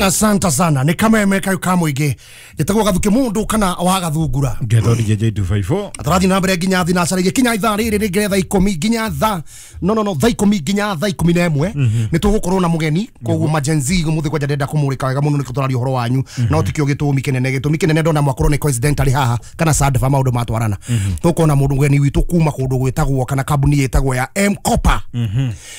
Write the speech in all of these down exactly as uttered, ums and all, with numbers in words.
Asante sana. Ni kameme kayo kamwige. Njĩtagwo Gathuke mundu kana wa Gathungura. Ngetho D J two five four. Atarathi na mbere nginya thina cara nginya ithaa rĩrĩ rĩngĩ thaa ikũmi nginya thaa no no no thaa ikũmi nginya thaa ikũmi na ĩmwe nĩ tũgũkorwo na mũgeni koguo ma Gen Z mũthĩ kwanja ndenda kũmũrĩka wega mũno nĩkĩo tũraria ũhoro wanyu no tikĩo gĩtũmi kĩnene gĩtũmi kĩnene ndona mwakorwo nĩ coincidentally haha kana sadfa maũndũ matwarana tũkona mũndũ mũgeni witũ kuma kũndũ gwĩtagwo kana kambuni ĩtagwo ya M-Kopa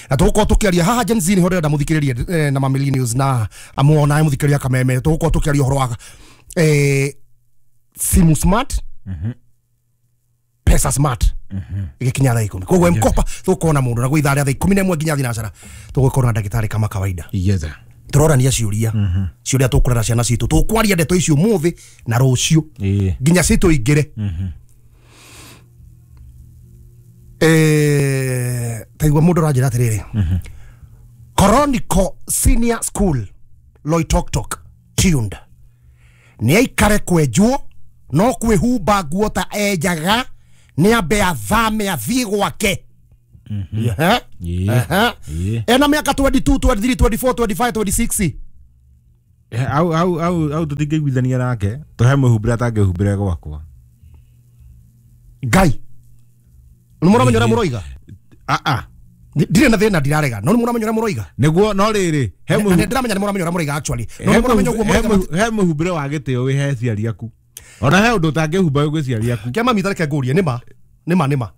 na tũgũkorwo tũkĩaria haha Gen Z nĩho ndĩrenda mũthikĩrĩrie na ma millennials na amuona mũthikĩrĩria kameme tũgũkorwo tũkĩaria ũhoro wa eh simu smart, mm-hmm. Pesa smart, igikinya thaa ikumi koguo M-Kopa tũgũkorwo na mũndũ na gwĩ ithaa rĩa thaa ikũmi na ĩmwe nginya thinacara tũgũkorwo na ndagĩtarĩ kama kawaida. Yes. Tũrorania ciũria ciũria tũkũrera ciana citũ tũkwaria ndeto icio ũmũthĩ na rũciũ nginya citũingĩre. Eh taigua mũndũ aranjĩra atĩrĩrĩ, Koroniko Senior School Loitoktok tuned nĩ aikare kwenjwo no kwĩhumba nguo ta enjaga nĩ ambe athame athiĩ gwake. Ena mĩaka twenty two, twenty three, twenty four, twenty five, twenty six. Au au au au tũtingĩiguithania nake tũhe mwĩhumbĩre atangĩhumbĩre gwakwa. Ngai nĩ mũramenya ũrĩa mũroiga? Ah ah ndirĩ na thĩna ndirarega no nĩ mũramenya ũrĩa mũroiga nĩguo no rĩrĩ he mũhu ndiramenya nĩ mũramenya ũrĩa mũroiga actually no nĩ mũramenya ũguo mũroiga he mũhumbĩre wa gĩtĩo wĩ he ciari aku ona he ũndũ ũtangĩhumba wĩ gwĩ ciari aku. Kĩa mami tareke ngũrie nĩma nĩma nĩma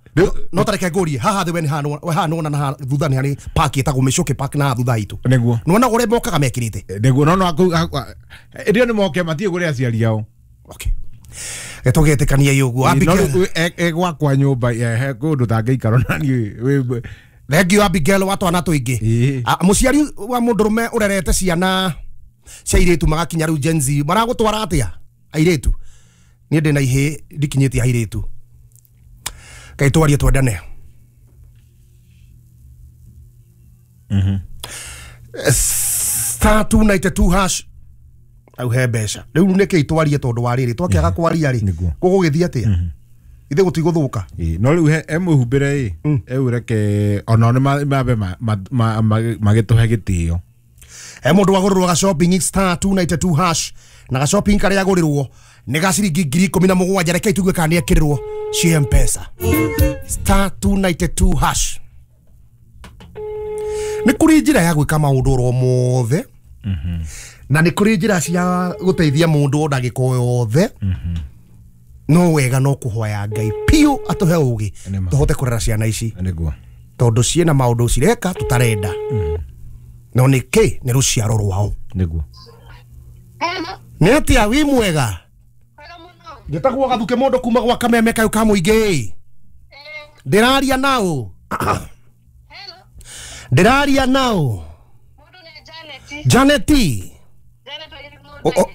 no tareke ngũrie haha thĩ we nĩ haha nĩwona na thutha nĩ harĩ park ĩtagwo Mĩcũkĩ Park na thutha itũ nĩguo nĩwona ũrĩa mokaga mekĩrĩte nĩguo no no ĩrĩa nĩ moke matiĩ kũrĩ aciari ao. Okay tũgetĩkania ũguo Abigail gwakwa nyũmba he kũndũ ũtangĩikara na niĩ. Thank you Abigail wa twana tũingĩ. Mũciari wa mũndũrũme ũrerete ciana cia airĩtu magakinya rĩu Gen Z maragũtwara atĩa airĩtu? Niĩ ndĩ na ihĩĩ ndikinyĩtie airĩtu. Kaĩ twarie twendane. Mhm. Star two ninety two hash au he mbeca rĩu nĩkĩ twarie tondũ wa rĩrĩ twakĩaga kwaria rĩ gũgũgĩthiĩ atĩa? Ithe gũtigũthũka. No rĩu he mũhumbĩre ĩ ĩu reke ona nĩ mambe magĩtũhe gĩtĩo. He mũndũ wagũrĩrwo ga shopping star two ninety two hash na ga shopping karĩa agũrĩrwo nĩ ga ciringi ngiri ikũmi na mũgwanja reke itugue kana nĩ ekĩrĩrwo cia M-Pesa star two ninety two hash. Nĩ kũrĩ njĩra ya gwĩka maũndũ oro mothe na nĩ kũrĩ njĩra cia gũteithia mũndũ o ndagĩka o yothe no wega no kũhoya Ngai piũ atũhe ũgĩ tũhote kũrera ciana ici nĩguo tondũ ciĩna maũndũ cireka tũtarenda no nĩ kĩ nĩ rũciaro rwao nĩguo. Nĩ atĩa wĩ mwega? Njĩtagwo Gathuke mũndũ kuma gwa kameme kayũ ka mũingĩ. Ndĩraria nao ndĩraria nao Janeti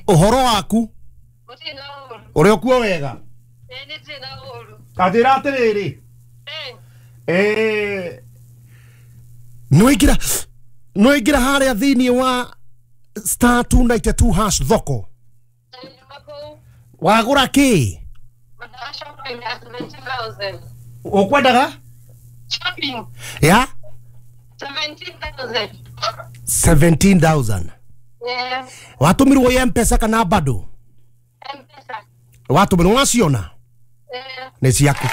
ũhoro waku ũrĩ okuo wega? Kanjĩra atĩrĩrĩ, nĩwaingĩra nĩwaingĩra harĩa thĩinĩ wa star two ninety two hash thoko wagũra kĩ? Ũkwendaga ya seventeen thousand watũmirwo ya M-Pesa kana bado? Watũmirwo waciona? Nĩ ciaku.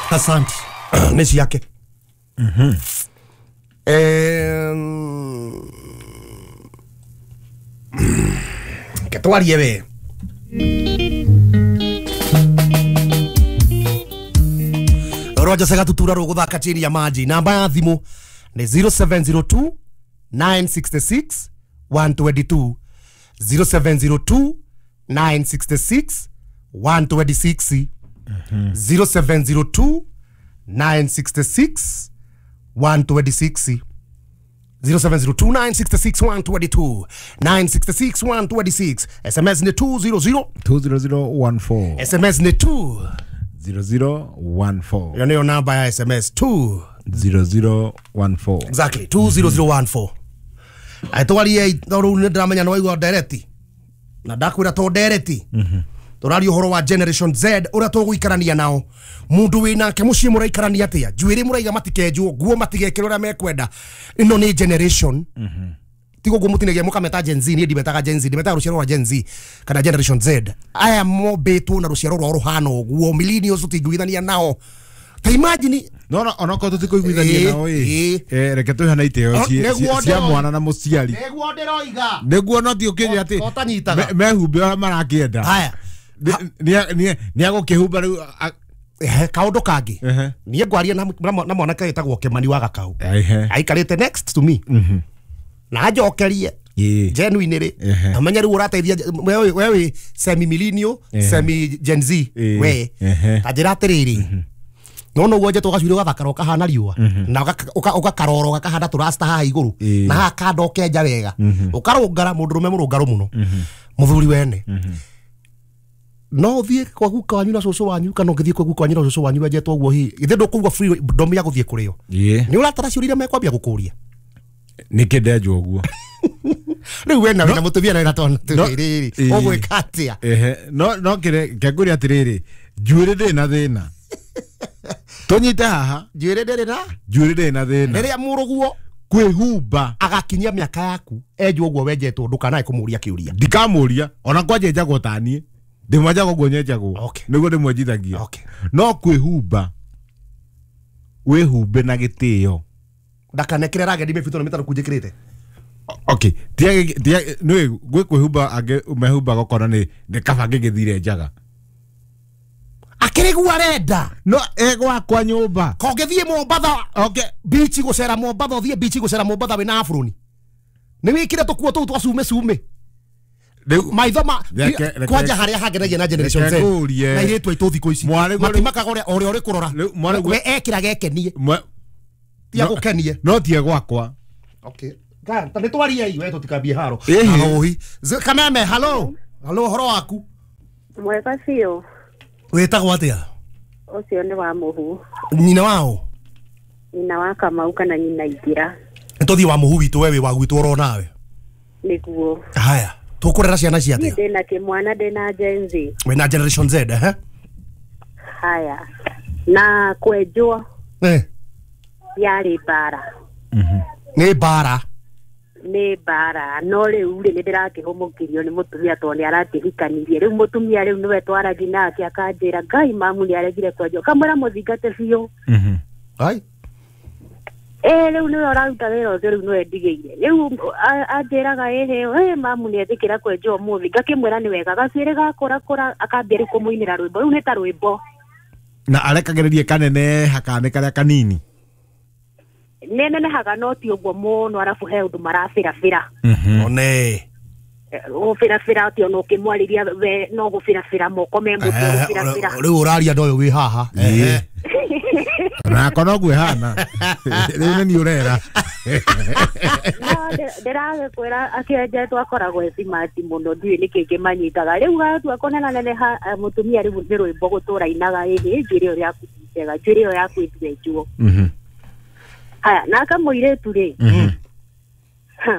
Asante. Nĩ ciake. Ke twarie we. Roger Segatutura rũgũthaka chini ya maji. Namba ya thimũ nĩ zero seven zero two nine six six one two two zero seven zero two nine six six one two six zero seven zero two nine six six one two six zero seven zero two nine six six one two two nine six six one two six. S M S ni two zero zero two zero zero one four. S M S ni two zero zero one four. Hiyo ndio namba ya S M S two zero zero one four. Exactly two zero zero one four. Aitwarie rĩu nĩ ndĩramenya nĩ waigua ndereti na ndakwĩra to ndereti tũraria ũhoro wa Generation Z ũrĩa tũgũikarania nao mũndũ wĩnake mũciĩ mũraikarania atĩa njuĩrĩ mũraiga matikenjwo nguo matigekĩrwo ũrĩa mekwenda ĩno nĩ generation Tigo guo mutinagia mukameta Gen Z, ni ndimetaga Gen Z, ndimetaga ruciaro rwa Gen Z kana Generation Z. Aya mombĩtwo na ruciaro rwao ruhana ũguo, millennials tũtingĩiguithania nao. Ta imagine no no onokorwo tũtikũiguithania nao ĩ, eh reke twĩhana itĩo cia mwana na mũciari. Nĩguo ndĩroiga. Nĩguo no ti ũkĩnjĩra atĩ ũtanyitaga mehumbe ũrĩa marakĩenda. Haya. Nĩ agũkĩhumba rĩu kaũndũ kangĩ. Niĩ ngwaria na mwanake wĩtagwo Kĩmani wa Gakau. Aikarĩte next to me. Na njokerie genuine rĩ, amenye rĩu ũrateithia we wĩ semi millennial, semi Gen Z we. Ta njĩra atĩrĩrĩ, no no guo njetwo gacuiri gathakara ũkahana riũa na ũgakaroro gakahana tũrasta haha igũrũ na haha kanda ũkenja wega ũkarũngara mũndũrũme mũrũngarũ mũno mũthuri wene. No ũthiĩ kwa guka wanyu na cũcũ wanyu kana ũngĩthiĩ kwa guka wanyu na cũcũ wanyu wenjetwo ũguo hihi githĩ ndũkũigua freedom ya gũthiĩ kũrĩo? Nĩ ũratara ciũria iria mekwambia gũkũria. Nĩkĩ ndenjwo ũguo? Rĩu we na wĩna mũtumia na wĩna twana tũrĩrĩ ũgwĩka atĩa? No no kĩre ngũria atĩrĩrĩ, njuĩrĩ ndĩrĩ na thĩna. Tũnyite haha. Njuĩrĩ ndĩrĩ na? Njuĩrĩ ndĩrĩ na thĩna. Rĩrĩa mũrũguo kwĩhumba agakinyia mĩaka yaku enjwo ũguo wenjetwo ndũkanae kũmũria kĩũria. Ndikamũria ona kwanja njagwo ta niĩ. Ndĩmwenjaga ũguo nyenjagwo. Nĩguo ndĩmwenjithagia. No kwĩhumba wĩhumbe na gĩtĩo. Ndakanekĩre ragedi mĩbuto na mĩtaro kunjĩkĩrĩte. Okay, tia tia nĩ gwĩ kwĩhumba angĩ mehumbaga ũkona nĩ nĩ kaba ngĩgĩthire njaga. Akĩrĩguo arenda. No egwakwa nyũmba. Kongĩthiĩ Mombatha, okay, beach gũcera Mombatha, ũthiĩ beach gũcera Mombatha wĩna aburoni. Nĩ wĩkĩre tũkuo tũu twa cume cume. Maitho ma kwanja harĩa hangenagia na Generation Z na airĩtu aitũ thikũ ici matimakaga ũrĩa ũrĩa ũrĩ kũrora we ekĩraga ekenie tia gũkenie no tie gwakwa. Okay, ta nĩ twarie we tũtikambie haro ahohi Kameme. Hello, hello, ũhoro waku? Mwega biũ. Wĩtagwo atĩa? Ũcio nĩ wa Mũhu. Nyina wao? Nyina wa Kamau kana nyina Ingĩra. Nĩ tũthiĩ wa Mũhu witũ, we wĩ wa gwitũ oro nawe. Nĩguo. Haya, tũkũrera ciana cia atĩa? Ndĩna kĩmwana, ndĩna Gen Z. Wĩna Generation Z, eh? Haya. Na kwenjwo eh yarĩ mbara. Nĩ mbara. Nĩ mbara no rĩu rĩ nĩ ndĩrakĩhũmũkirio nĩ mũtumia tondũ nĩ arakĩhikanirie. Rĩu mũtumia rĩu nĩwe twaragia nake akanjĩra Ngai mamu nĩ aregire kwenjwo, kamwĩra mũthingate biũ. Ai eh rĩu nĩwe ũraruta wĩra ũcio, rĩu nĩwe ndigĩire. Rĩu anjĩraga ĩhĩ mamu nĩ etĩkĩra kwenjwo ũmũthĩ, ngakĩmwĩra nĩ wega. Gacuĩrĩ gakũrakũra akambia rĩu kũmũinĩra rwĩmbo, rĩu nĩ ta rwĩmbo na arekagĩrĩrie kanene hakane karĩa kanini nenenehaga no ti ũguo mũno, arabu he ũndũ marabĩrabĩra. One gũbĩrabĩra atĩ ona ũkĩmwarĩria we no gũbĩrabĩra moko me mũtwe gũbĩrabĩra. Rĩu ũraria ndoyo wĩ haha. Nako noguo ĩhana. Rĩu nĩ niĩ ũrera. Ndĩragĩkwĩra akĩenjetwo akoragwo e smart mũno, ndiũĩ nĩkĩ kĩmanyitaga. Rĩu gatua kũnenaneneha mũtumia rĩu nĩ rwĩmbo gũtũra inaga ĩhĩ njuĩrĩ ĩyo yaku ti njega, njuĩrĩ ĩyo yaku ĩtwenjwo. Haya, naka mũirĩtu rĩ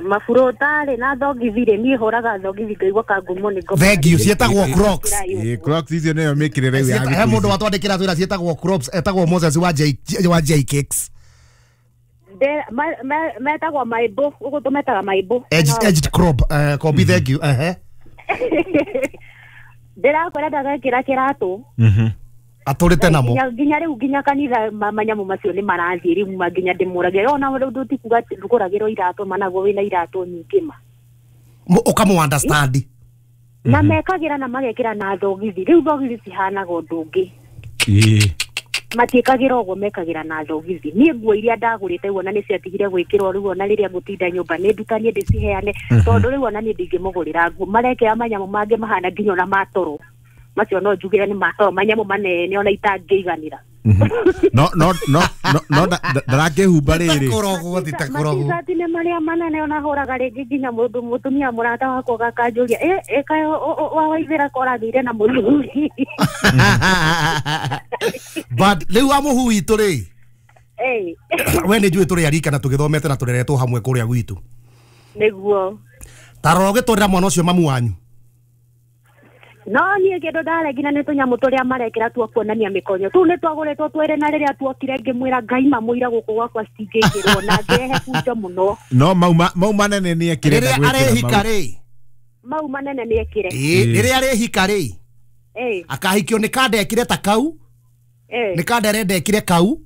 maburota rĩ na thogithi rĩ, niĩ hũraga thogithi ngaigua kangumo nĩ ngoma. Thank you, ciĩtagwo Crocs. Ĩ Crocs icio nĩyo mĩkĩre rĩu ya he mũndũ watwandĩkĩra twĩra ciĩtagwo Crocs, etagwo Moses wa J wa J Cakes. Metagwo maibũ, ũguo tũmetaga maibũ. Edged edged crop, eh Kobi, thank you. Ehe. Ndĩrakwĩra ndagekĩra kĩratũ. Mhm. Atũrĩte namo nginya rĩu nginya kanitha manyamũ macio nĩ marathiĩ rĩu ma nginya ndĩmũragia ona rĩu ndũtikuga ndũgũragĩrwo iratũ managuo wĩna iratũ nyingĩ ma ũkamũ understand na mekagĩra na magekĩra na thogithi. Rĩu thogithi cihanaga ũndũ ũngĩ, matiĩkagĩra ũguo, mekagĩra na thogithi. Niĩ nguo iria ndagũrĩte rĩu ona nĩ ciatigire gwĩkĩrwo, rĩu ona rĩrĩa ngũtinda nyũmba nĩ ndutanie ndĩciheane, tondũ rĩu ona niĩ ndingĩmũgũrĩra nguo. Marekĩra manyamũ mangĩ mahana nginya ona matoro macio no njugire nĩ matoro manyamũ manene ona itangĩiganĩra. No no no no ndarakĩhumba rĩrĩ kũrogwo titakũrogwo matishati nĩ marĩa manene ona hũraga rĩngĩ nginya mũndũ mũtumia mũrata wakwa gakanjũria ĩ ĩka wawaithĩra koragĩire na mũthuri. But rĩu wa Mũhu witũ rĩ, we nĩ njũĩ tũrĩ arika na tũgĩthomete na tũreretwo hamwe kũrĩa gwitũ. Nĩguo ta rora ũgĩtwarĩra mwana ũcio mamu wanyu. No niĩ kĩndũ ndaregire nĩ tũnyamũ tũrĩa marekĩra tuo kuonania mĩkonyo tũu nĩ twagũrĩtwo twĩrĩ na rĩrĩa tuokire ngĩmwĩra Ngai mamũira gũkũ gwakwa citingĩkĩrwo na ngĩrehe bunjo mũno. No mau mau manene nĩ ekĩre rĩrĩa arehika rĩ mau manene nĩ ekĩre ĩĩ rĩrĩa arehika rĩ ĩĩ akahikio nĩ kanda ekire ta kau ĩĩ nĩ kanda arenda ekire kau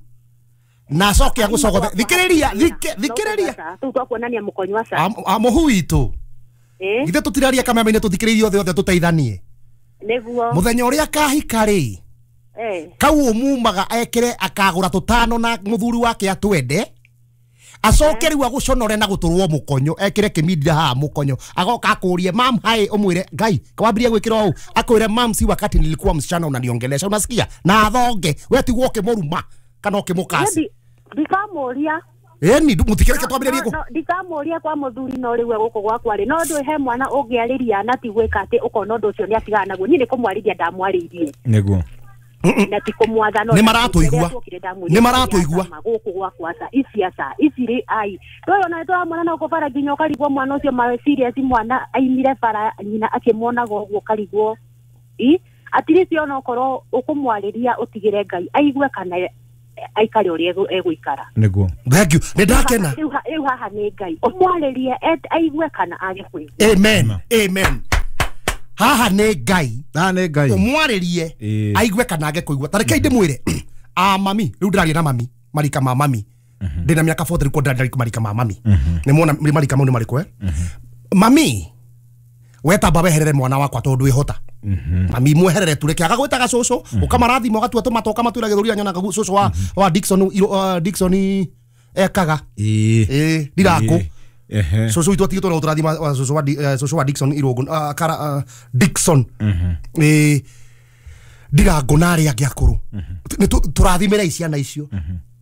na acoke agũcogothe thikĩrĩria thikĩrĩria tũu twa kuonania mũkonyo aca mũhu witũ ĩĩ githĩ tũtiraria kameme-inĩ tũthikĩrĩrie othe othe tũteithanie nĩguo muthenya uria akahika rĩ eh kau umumaga ekire akagura tutano na muthuri wake atwende acoke riu aguconore na guturwo mukonyo ekire kimindira haha mukonyo agoka akurie mam hai umwire Ngai kwambiria gwikira u akwire mam si wakati nilikuwa msichana unaniongelesha unasikia na athonge we tigwo ukimuruma kana ukimukasi ndikamuria eni mutikireke twambiririe ko ndikamuria kwa muthuri no riu guku gwakwa ri no ndu he mwana ungiariria na ti gwika ati ukona undu ucio ni atigana naguo ni ni kumwariria ndamwaririe niguo na ti kumwatha no ni maratuigua ni maratuigua guku gwakwa aca ici aca ici ri ai toyo na twa na uko bara nginya ukarigwo mwana ucio ma serious mwana aimire bara nyina akimwonaga uguo karigwo i atirisi ona okorwo ukumwariria utigire Ngai aigue kana aikare uria eguikara niguo thank you ni ndakena riu haha ni Ngai umwaririe aigue kana age kuigua amen amen haha ni Ngai haha ni Ngai umwaririe aigue kana age kuigua tareke ndimwire a mami riu ndiraria na mami marika ma mami ndina miaka forty riu ndiraria marika ma mami ni mwona marika mau ni mariko eh mami wetamba weherere mwana wakwa tondu wihota mami mweherere tureke agagwitaga cucu ukamarathima ugatua tumata ukamatwira githuria nyonaga cucu wa wa Dickson Dickson ekaga ii ndiraku cucu itu atigitwo na uturathima cucu wa cucu wa Dickson irungu kara Dickson ii ndirangu na aria angi akuru turathimira ciana icio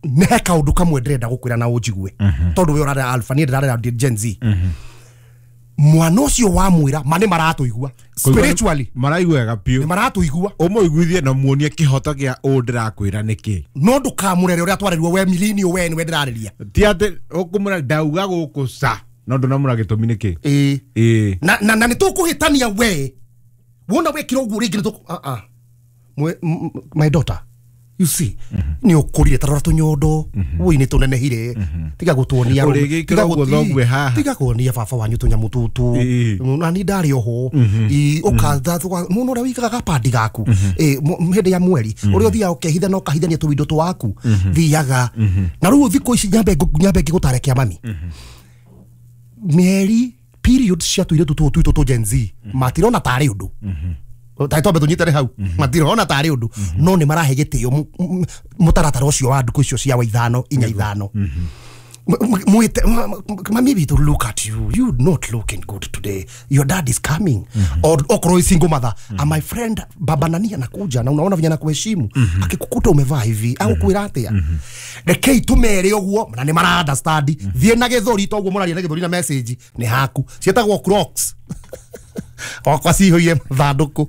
nĩ he kaũndũ kamwe ndĩrenda gũkwĩra na ũnjigue tondũ we ũrarera alpha niĩ ndĩrarera Gen Z mwana ucio wa mwira ma nĩ maratũigua spiritually maraiguaga piũ nĩ maratũigua ũmũiguithie na muonie kĩhoto gĩa ũũ ndĩrakwĩra nĩkĩ no ndũkamũrere ũrĩa twarĩrwo we millennial we nĩwe ndĩrarĩria ti atĩ ũkũmũra ndauga gũkũ ca no ndũnamũra gĩtũmi nĩkĩ ĩĩ ĩĩ na na na nĩtũkũhĩtania we wona wekira ũguo rĩngĩ nĩtũ ah ah my daughter you see ni ukurire tarora tunyondo woi ni tunenehire tiga gutuonia tiga kuonia baba wanyu tunyamu tutu na ni ndari oho i ukatha muno uria wikaga gapandi gaku eh hindi ya mweri uria uthiaga ukehitha na ukahithania tuwindo twaku thiaga na riu thiku ici nyambe nyambe ngigutare kia mami mieri period cia tuiretu tu tu tu Gen Z matirona tari undu tai twambe tunyitane hau matirona tari undu no ni marahe gitio mutaratara ucio wa nduku icio cia wa ithano inya ithano mwite mami bitu look at you you not looking good today your dad is coming or okorwo single mother and my friend baba nani anakuja na unaona vijana kuheshimu akikukuta umevaa hivi au kwira atia rekei tumere uguo na ni mara understand thie na githuri to uguo muraria na githuri na message ni haku cietagwo crocs wakwa ciihũire mathandũkũ.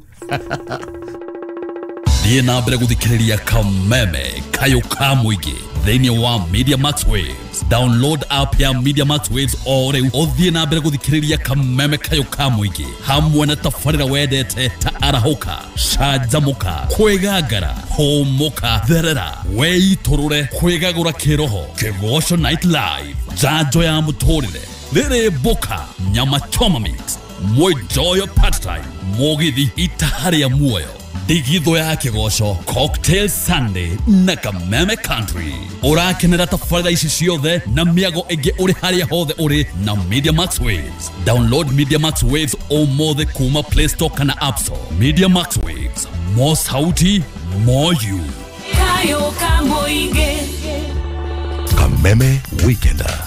Thiĩ na mbere gũthikĩrĩria Kameme Kayũ ka Mũingĩ thĩinĩ wa Media Max Waves. Download app ya Media Max Waves o rĩu ũthiĩ na mbere gũthikĩrĩria Kameme Kayũ ka Mũingĩ hamwe na tabarĩra wendete ta arahũka, canjamũka, kwĩgangara, hũmũka, therera, weitũrũre, kwĩgagũra kĩroho, Kĩgoco Night Live, njanjo ya mũtũrĩre, rĩrĩ mboka, nyama choma mix, Mwijoyo part time, Mugithi itaharia muoyo, Ndigitho ya Kĩgoco, Cocktail Sunday na Kameme Country. Ũrakenera tabarĩra ici ciothe na mĩago ĩngĩ ũrĩ harĩa hothe ũrĩ na Media Max Waves. Download Media Max Waves ũmũthĩ kuma Play Store kana App Store. Media Max Waves, more sauti, more you. Kayo ka Mũingĩ. Kameme Weekender.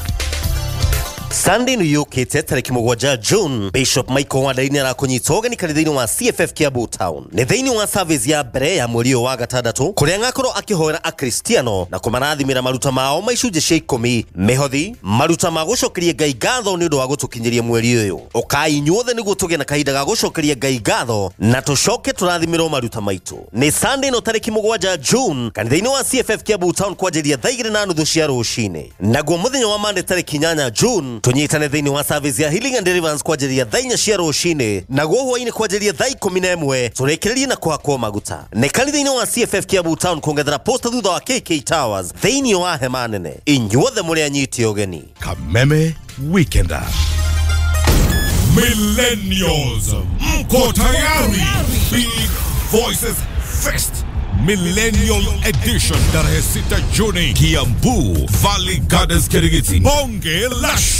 Sunday nĩ yũkĩte tarĩki mũgwanja June Bishop Michael Wandaini nĩarakũnyita ũgeni kanitha-inĩ wa C F F Kiambu Town. Nĩ thĩinĩ wa service ya mbere ya mweri ũyũ wa gatandatũ kũrĩa agakorwo akĩhoera akristiano na kũmarathimĩra maruta mao ma icunjĩ cia ikũmi, mĩhothi, maruta ma gũcokeria Ngai ngatho nĩ ũndũ wa gũtũkinyĩria mweri ũyũ. Ũkai inyuothe nĩguo tũgĩe na kahinda ga gũcokeria Ngai ngatho na tũcoke tũrathimĩrwo maruta maitũ. Nĩ Sunday ĩno tarĩki mũgwanja June kanitha-inĩ wa C F F Kiambu Town kwanjĩrĩria thaa igĩrĩ na nuthu cia rũcinĩ. Naguo mũthenya wa Monday tarĩki inyanya June Tũnyitane thĩinĩ wa service ya Healing and Deliverance kwanjĩrĩria thaa inya cia rũcinĩ, naguo hwainĩ kwanjĩrĩria thaa ikũmi na ĩmwe tũrĩkĩrĩrie na kũhakwo maguta. Nĩ kanitha-inĩ wa C F F Kiambu Town kũng'ethera posta thutha wa K K Towers thĩinĩ wa hema nene. Inyuothe mũrĩ anyiti ũgeni. Kameme Weekender. Millennials, mko tayari? Big Voices Fest Millennial Edition tarehe sita Juni, Kiambu Valley Gardens, Kirigiti. Bonge la